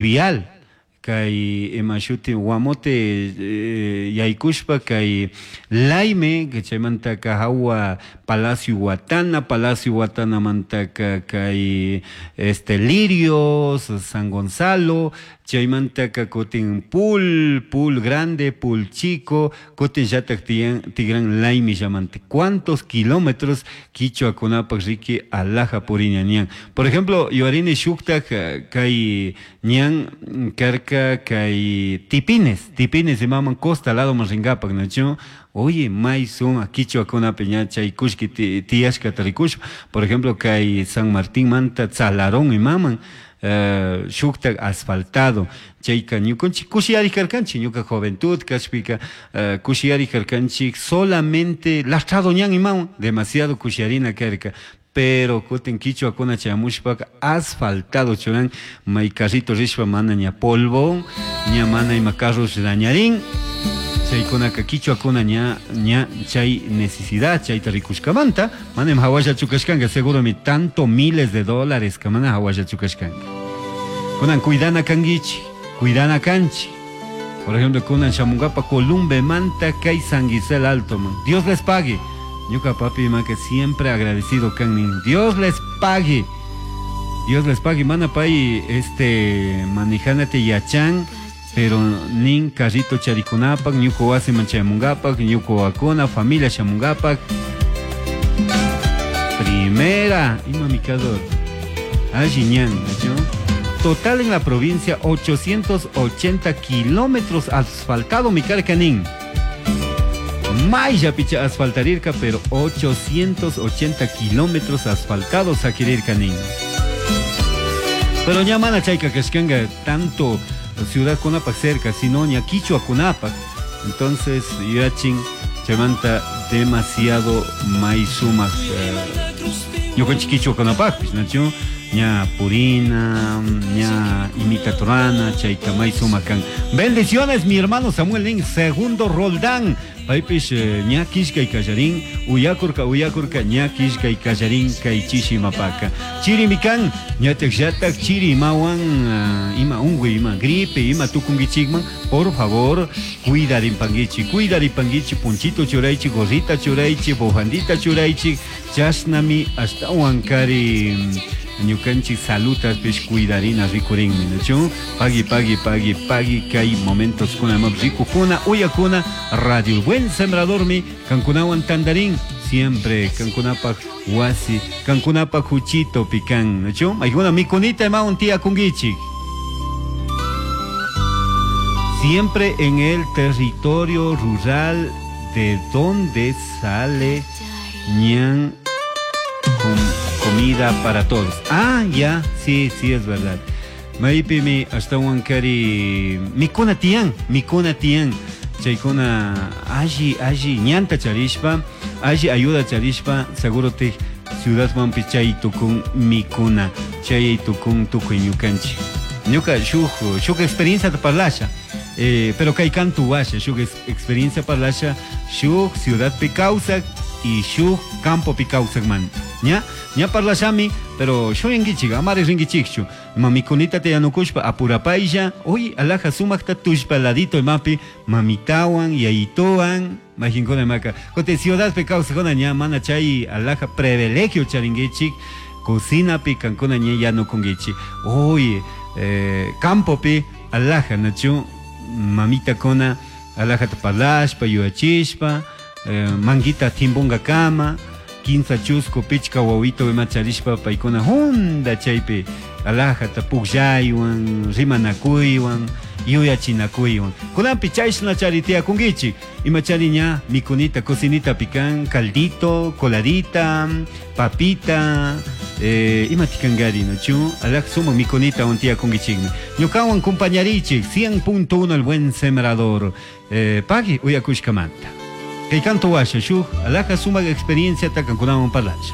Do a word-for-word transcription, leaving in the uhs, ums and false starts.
Vial kay ima shuti Guamote eh, yaykushpa kay Layme chaymantaka hawa Palacio Huatana, Palacio Huatanamantaka kay este Lirios, San Gonzalo, chaymantaka kutin Pul, Pul Grande, Pul Chico, kutin llatak tiyan tigran Layme llamante. ¿Cuántos kilómetros quichuakunapak riki alaja puriña ñan? Por ejemplo, yuyarini shuktak kay ñan karka kay Tipines, Tipines imaman costa lado rinkapak, ¿no? Oye, may sumak quichuakunapi ña chay kullki tiyashkata rikushpa, por ejemplo, kay San Martín manta Tzalarón imaman uh, shuktak asfaltado chayka ñukanchik kushiyari karkanchik ñuka juventud kashpika uh, kushiyari karkanchik solamente lastrado ñan imawan demasiado kushiyarina karka, pero kutin quichuakuna chayamushpaka asfaltado churan may carrito rishpa mana ña polvo ña mana ima carros dañarin chaykunaka quichuakuna ña ña chay necesidad chayta rikushkamanta mana ima hawallachu kashkanka seguro mi tanto miles de dólares ka mana hawallachu kashkanka kunan cuidana kankichik cuidana kanchik. Por ejemplo, kunan shamunkapa Columbe manta kay San Gisel Alto man. Dios les pague. Ñuka papi ma que siempre agradecido kanin. Dios les pague. Dios les pague. Mana pay este manijanate yachan, pero nin carrito charikunapak, ñuka wasiman chayamunkapak, ñuka wakuna, familia shamunkapak. Primera, ima mikador. Alli ñan, ¿no? Total en la provincia ochocientos ochenta kilómetros asfaltado mi carcanín. Maya picha asfaltarirka, pero ochocientos ochenta kilómetros asfaltados saquirircanín. Pero ña mana chayka kashkanga tanto ciudad kunapak cerca, sino ña quichua kunapak. Entonces, yachin chaymanta demasiado may sumak ñukanchik quichua kunapakpis, ¿no? Ña purina, ña imitatorana, chayta may sumak kan. Bendiciones, mi hermano Samuel Nin, segundo Roldán. Paypish ña kishkay kallarin, uyakurka uyakurka ña kishkay kallarin kay chishimapaka. Chirimikan, ñatak llatak chiri imawan, ima ungüi, ima gripe, ima tukungichikman, por favor, cuidarimpanguichi, cuidarimpanguichi, punchito churaichi, gorrita churaichi, bufandita churaichi, chashnami ashtawan kari ñukanchik salutapish cuidarina rikurinmi, ¿no? Pagui, pagui, pagui, pagui, kay momentos kuna imap rikukuna, uyakuna, Radio El Buen Sembrador mi, kankunawan tandarín, siempre kankunapak wasi, kankunapak huchito pican, ¿no? Maykuna mikunita imawan tía kungichik. Siempre en el territorio rural de donde sale ñan con comida para todos. Ah, ya, sí, sí, es verdad. Maypimi ashtawan kari mikuna tiyan, mikuna tiyan. Chaykuna alli, alli ñanta charishpa, alli ayuda charishpa, seguro te ciudad manpi chay tukun mikuna, chay tukun tukuy ñukanchik. Ñuka shuk, shuk experiencia parlasha. Eh, pero kay kantu washa, shuk experiencia parlasha, shuk ciudad pi kawsak y shuk campo pi kawsak man. Ña, ña parlashami, pero shuyankichik, amari rinkichikchu. Mamikunita te yanukushpa apurapaylla, uy, alaja sumakta tushpa ladito imapi, mamitawan, yayitowan, majinkuna imaka. Kote ciudad pi kawsakuna ña mana chay alaja privilegio charinkichik, cocina pi kankuna ña yanukunkichik. Uy, eh, campo pi alaja, nachu, mamita kona, alaja tapalashpa, yuachishpa, eh, manguita timbunga kama, quinza chusco pichka wawito ima charishpa paykuna hunda chaypi alajata pukllaywan rimanakuywan yuyachinakuywan kunanpi chayshna chari tiyakunkichik ima chari ña mikunita cocinita pican caldito coladita papita eh, ima tikankari nochu alaj sumak mikunita wan tiyakunkichikmi ñukawan compañarichik cien punto uno El Buen Sembrador eh, pagui uyakushkamanta. Kay kanto washa shuk alaja sumak experiencia takankunawan parlasha.